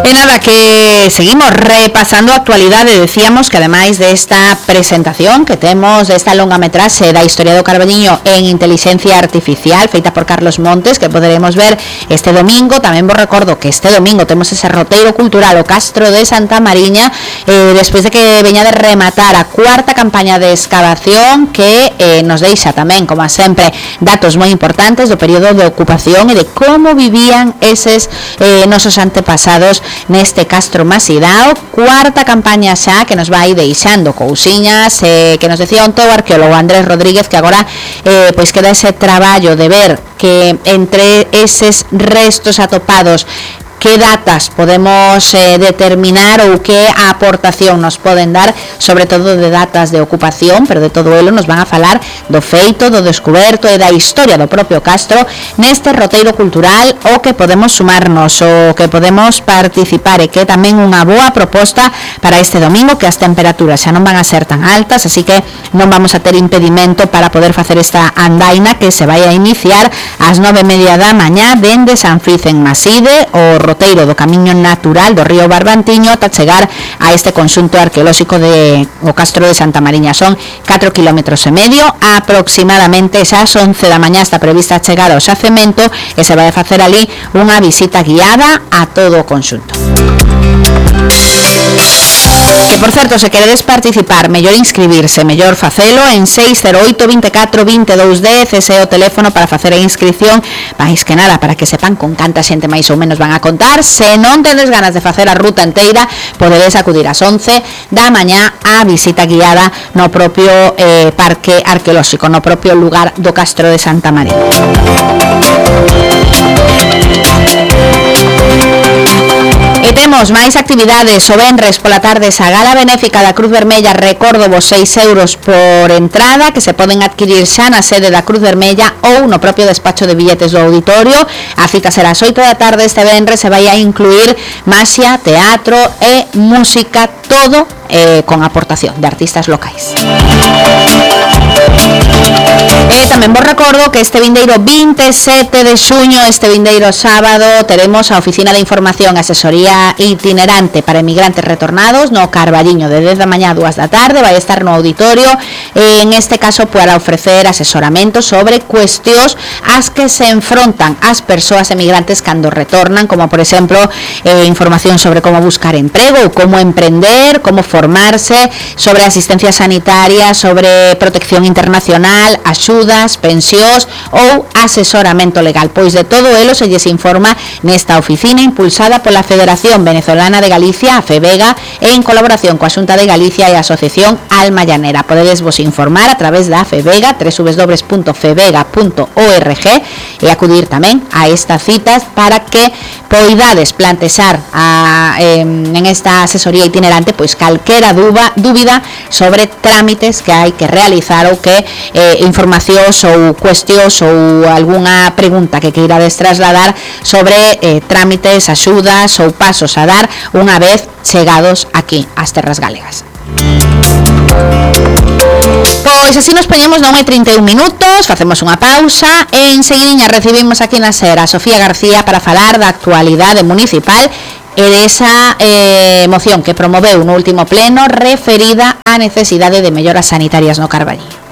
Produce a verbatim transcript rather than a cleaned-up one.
E nada, que seguimos repasando a actualidade. Decíamos que ademais desta presentación que temos desta longametraxe da historia do Carballiño en inteligencia artificial feita por Carlos Montes, que poderemos ver este domingo. Tamén vos recordo que este domingo temos ese roteiro cultural o Castro de Santa Mariña, eh, despois de que veña de rematar a cuarta campaña de excavación, que eh, nos deixa tamén, como sempre, datos moi importantes do período de ocupación e de como vivían eses eh, nosos antepasados neste Castro Masidao. Cuarta campaña xa que nos vai deixando cousiñas, eh, que nos decía onte o arqueólogo Andrés Rodríguez, que agora eh, pois queda ese traballo de ver que entre eses restos atopados que datas podemos eh, determinar ou que aportación nos poden dar, sobre todo de datas de ocupación, pero de todo elo nos van a falar do feito, do descuberto e da historia do propio Castro neste roteiro cultural, o que podemos sumarnos, o que podemos participar, e que é tamén unha boa proposta para este domingo, que as temperaturas xa non van a ser tan altas, así que non vamos a ter impedimento para poder facer esta andaina que se vai a iniciar ás nove e media da mañá dende San Friz en Maside, o roteiro do camiño natural do río Barbantiño, ata chegar a este conxunto arqueolóxico de o Castro de Santa Mariña. Son catro kilómetros e medio aproximadamente. Xa ás once da mañá está prevista a chegar ao xacemento e se vai a facer ali unha visita guiada a todo o conxunto. Que, por certo, se queredes participar, mellor inscribirse, mellor facelo en seis cero oito, veinticuatro, veintidós, dez, ese é o teléfono para facer a inscripción, máis que nada para que sepan con canta xente máis ou menos van a contar. Se non tedes ganas de facer a ruta inteira, podedes acudir ás once da mañá á visita guiada no propio eh, parque arqueolóxico, no propio lugar do Castro de Santa María. E temos máis actividades. O venres pola tarde esa gala benéfica da Cruz Vermella, recordo vos seis euros por entrada, que se poden adquirir xa na sede da Cruz Vermella ou no propio despacho de billetes do auditorio. A cita será ás oito da tarde este venres, se vai a incluir maxia, teatro e música, todo eh, con aportación de artistas locais. E tamén vos recordo que este vindeiro vinte e sete de xuño, este vindeiro sábado, teremos a Oficina de Información e Asesoría Itinerante para Emigrantes Retornados no Carballiño, de dez da mañá a dúas da tarde. Vai estar no auditorio, e en este caso para ofrecer asesoramento sobre cuestións as que se enfrontan as persoas emigrantes cando retornan, como por exemplo eh, información sobre como buscar emprego ou como emprender, como formarse, sobre asistencia sanitaria, sobre protección internacional, axudas, pensións ou asesoramento legal. Pois de todo elo se lles informa nesta oficina impulsada pola Federación Venezolana de Galicia, a FEVEGA, en colaboración coa Xunta de Galicia e a Asociación Alma Llanera. Podedes vos informar a través da FEVEGA, doble u doble u doble u punto fevega punto org, e acudir tamén a estas citas para que poidades plantexar a, eh, en esta asesoría itinerante pois calquera dúba, dúbida sobre trámites que hai que realizar ou que eh, informacións ou cuestións ou algunha pregunta que queirades trasladar sobre eh, trámites, axudas ou pasos a dar unha vez chegados aquí ás terras galegas. Pois así nos poñemos non hai trinta e un minutos, facemos unha pausa e enseguidiña recibimos aquí na SER a Sofía García para falar da actualidade municipal e desa eh, moción que promoveu no último pleno referida á necesidade de melloras sanitarias no Carballiño.